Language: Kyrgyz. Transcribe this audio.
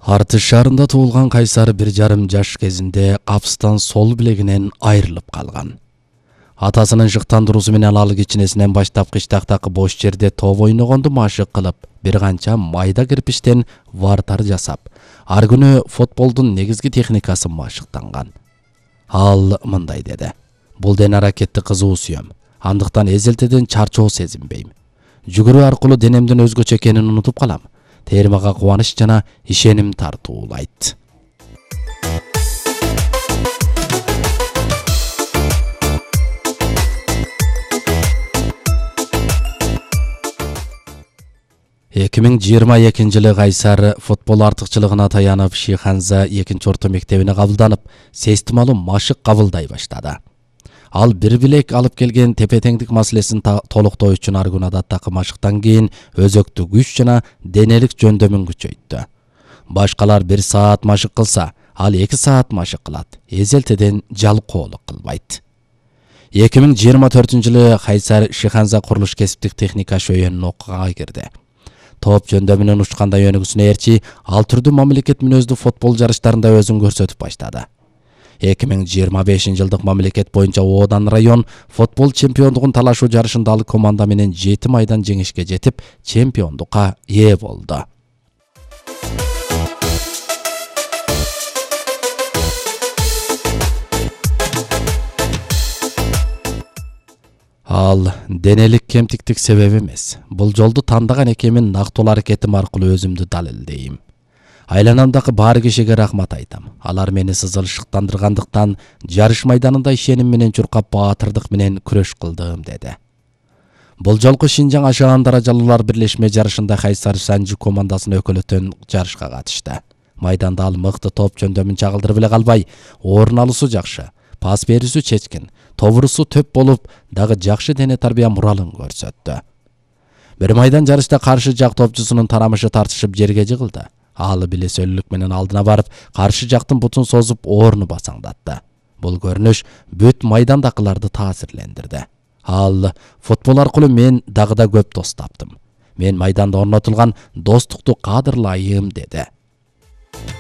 Артыш шаарында туулган Кайсар 1,5 жаш кезинде капстан сол билегинен айрылып калган. Атасынын шыктандыруусу менен ал кичинесинен баштап кыштактагы бош жерде топ ойногонду машык кылып, бир канча майда кирпичтен вартар жасап, ар күнү футболдун негизги техникасын машыктанган. Ал мындай деди: "Бул дене аракетти кызуу сүйөм. Андыктан эзелтеден чарчоо сезинбейм. Жүгүрүү аркылуу денемдин өзгөчө экенин унутуп калам. Термага кубаныч жана ишеним тартуулайт." Эки миң жыйырма экинчи жылы Кайсар футбол артыкчылыгына таянып Шиханза 2-орто мектебине кабылданып, сестималуу машык кабылдай баштады. Ал бир билек алып келген тепе-теңдик маселесин толуктоо үчүн ар күнү адаттагы машыктан кийин өзөктү күч жана денелик жөндөмүн күчөйттү. Башкалар 1 саат машык кылса, ал 2 саат машык кылат. Эзелтеден жалкоолук кылбайт. 2024 жылы Кайсар Шиханза курулуш кесиптик техника шөйөнүн окууга кирди. Топ жөндөмүнөн учкандай өнүгүүсүнө ээрчи, ал түрдүү мамлекет мүнөздүү футбол жарыштарында өзүн көрсөтүп баштады. 2025 жылдык мамлекет боюнча Одан район футбол чемпиондугун талашуу жарышында ал команда менен 7 майдан жеңишке жетип, чемпиондукка ээ болду. Ал денелик кемтиктик себеби эмес. Бул жолду тандаган экенмин, нактуу аракетим аркылуу өзүмдү далилдейм. Айланамдагы баары кишиге рахмат айтам. Алар мени сызылышыктандыргандыктан жарыш майданында ишеним менен чуркап, баатырдык менен күрөш кылдым, деди. Бул жолку Шинжаң Ашаан даражалуулар бирлешме жарышында Кайсар Санжу командасын өкөлөтөн жарышка катышты. Майданда ал мыкты топ жөндөмүн чагылдырып эле калбай, орун алуусу жакшы, пас берүүсү чечкин, тобурусу төп болуп, дагы жакшы дене тарбия муралын көрсөттү. Бир майдан жарышта каршы жак топчусунун тарамышы тартышып жерге жыгылды. Ал билесөлүүлүк менен алдына барып, каршы жактын бутун созуп, орну басаңдатты. Бул көрүнүш бүт майдандакыларды таасирлендирди. Ал: "Футбол аркылуу мен дагы да көп дос таптым. Мен майданда орнотулган достукту кадырлайым", деди.